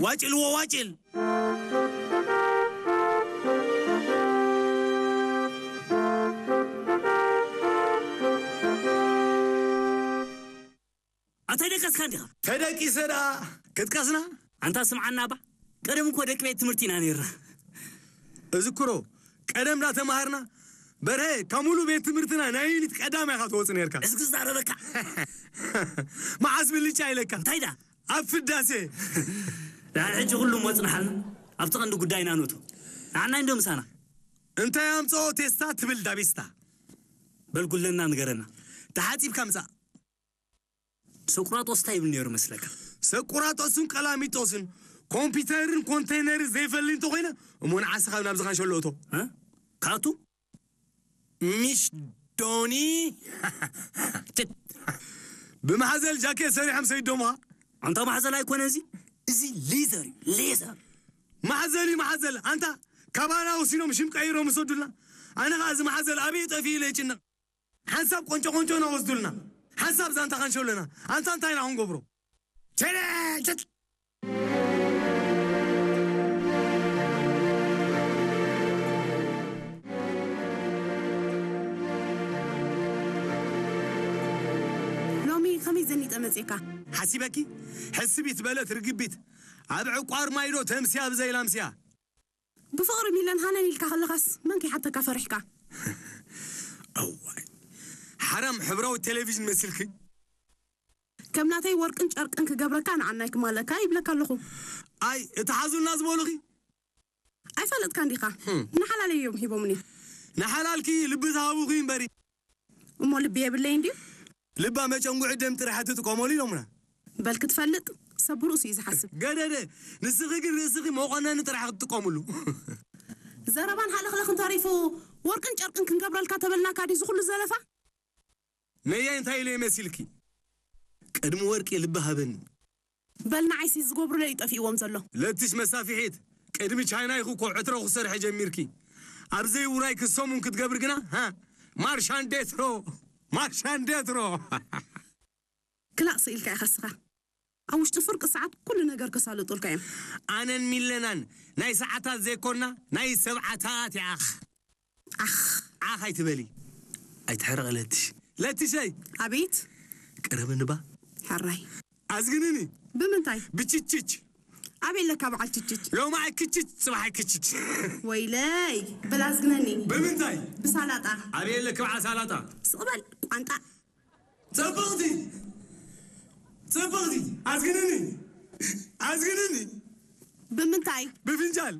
ዋጭልዎ ዋጭል። ኣታይ ደቀስካ እንዲኻ? ተደቂሰ ደኣ ክትቀስና? ኣንታ ስምዓና እባ፣ ቀደም እኮ ደቂ ቤት ትምህርቲ ኢና ነይርና። እዝክሮ፣ ቀደም ዳ ተማሃርና፣ በርሀ፣ ካብ ሙሉ ቤት ትምህርትና ናይ ዩኒት ቀዳማይ ኢኻ ትወጽእ ነይርካ። እዚ ክዛረበካ። መዓስ ብልጫ ኢለካ? እንታይ ዳ? ኣብ ፍዳሴ። ደሓን ሕጂ ኩሉ ሞጽናሓልና፣ ኣብቲ ቀንዲ ጉዳይና ንእቶ። ንዓና እንዶ ምሳና። እንታይ ኣምጽኦ ቴስታ ትብል ዳቤስታ? በል ጉለና ንገረና። ተሓጺብካ ምጻእ። ሰቁራጦስ እንታይ ይብል ነይሩ መስለካ? ሰቁራጦስን ቀላሚጦስን ኮምፒውተርን ኮንቴነርን ዘይፈሊ እንተኾይነ፣ እሞ ንዓስኻ ናብዚ ካንሸሎ እቶ። እ? ካቱ? ሚሽ ዶኒ? ትት። ብማሕዘል ጃኬት ሰሪሖም ሰይዶምኻ? ኣንታ ማሕዘል ኣይኮነ እዚ? እዚ ሌዘር እዩ፣ ሌዘር። ማሕዘል እዩ፣ ማሕዘል። ኣንታ ካባና ወሲዶም ሽም ቀይሮም ይሰዱልና። ኣነ ኸዓ እዚ ማሕዘል ኣበይ ጠፊኡ ኢለ ይጭነቕ። ሓንሳብ ቆንጮ ቆንጮና ወስዱልና። ሓንሳብ ዛንታ ካንሸሎና። ኣንታ እንታይ ኢና ክንገብሮ? ቸለ! ቸት! ሎሚ ከመይ ዘኒጠ መጺእካ? ሓሲበኪ? ሕስቢት በለት ርግቢት። ኣብ ዕቋር ማይዶ ተምስያ ብዘይ ላምስያ። ብፍቕሪ ሚለን ሃነን ኢልካ ከለኻስ መን ከይሓተካ ፈሪሕካ? እዋይ፣ ሓራም ሕብራዊ ቴሌቪዥን መሲልኪ። ከም ናተይ ወርቅን ጨርቅን ክገብረካ ንዓናይ ክማለካ ይብለካ ኣለኹ። ኣይ፣ እቲ ሓዙልና ዝበሉኺ? ኣይፈለጥካን ዲኻ? ህም። ንሓላለይ እዮም ሂቦምኒ። ንሓላልኪ ልቢ ዝሃቡኺ እምበሪ። እሞ ልቢ የብለይ እንድዩ? ልባ መጨንጉዒ ደም ጥራሕ ትጥቀመሉ ኢሎምና። በል ክትፈልጥ፣ ሰብ ብርእሱ እዩ ዝሓስብ። ገደደ፣ ንስኺ ግን ርእስኺ መቆነኒ ጥራሕ ክትጥቀምሉ። ዘረባን ሃለኽለኽን ተሪፉ፣ ወርቅን ጨርቅን ክንገብረልካ ተበልናካ ድዩ ዝኹሉ ዘለፋ? ነየ እንታይ ኢለ መሲልኪ? ቅድሚ ወርቂ ልቢ ሃበኒ። በል ንዓይሲ ዝገብሩለይ እዩ ጠፊእዎም ዘሎ። ለትሽ መሳፍሒት፣ ቅድሚ ቻይና ኢኹ እኮ ዕትሮ ክሰርሐ ጀሚርኪ። ኣብ ዘይውራይ ክሰሙን ክትገብሪ ግና፣ ሃ? ማርሻንዴትሮ፣ ማርሻንዴትሮ። ክላእ ስኢልካ ኢኻ እስኻ። ኣብ ውሽጢ ፍርቂ ሰዓት ኩሉ ነገር ከሳልጡልካ እዮም። ኣነን ሚለናን ናይ ሰዓታት ዘይኮና፣ ናይ ሰብዓታት ይኣኽ። ኣኽ። ዓኽ ኣይትበሊ። ኣይትሕረቕ ለትሽ። ለትሸይ። ኣቤት። ቀረብኒ ባ። ሕራይ። ኣዝግንኒ። ብምንታይ? ብችችች። ኣበይ ኣለካ በዓል ችችች? ሎማዓይ ክችች፣ ጽባሓይ ክችች። ወይለይ፣ በል ኣዝግነኒ። ብምንታይ? ብሳላጣ። ኣበይ ኣለኪ በዓል ሳላጣ? ስቕ በል፣ ቋንጣ። ጽብቕቲ! ጽብቕቲ! ኣዝግንኒ! ኣዝግንኒ! ብምንታይ? ብፍንጃል!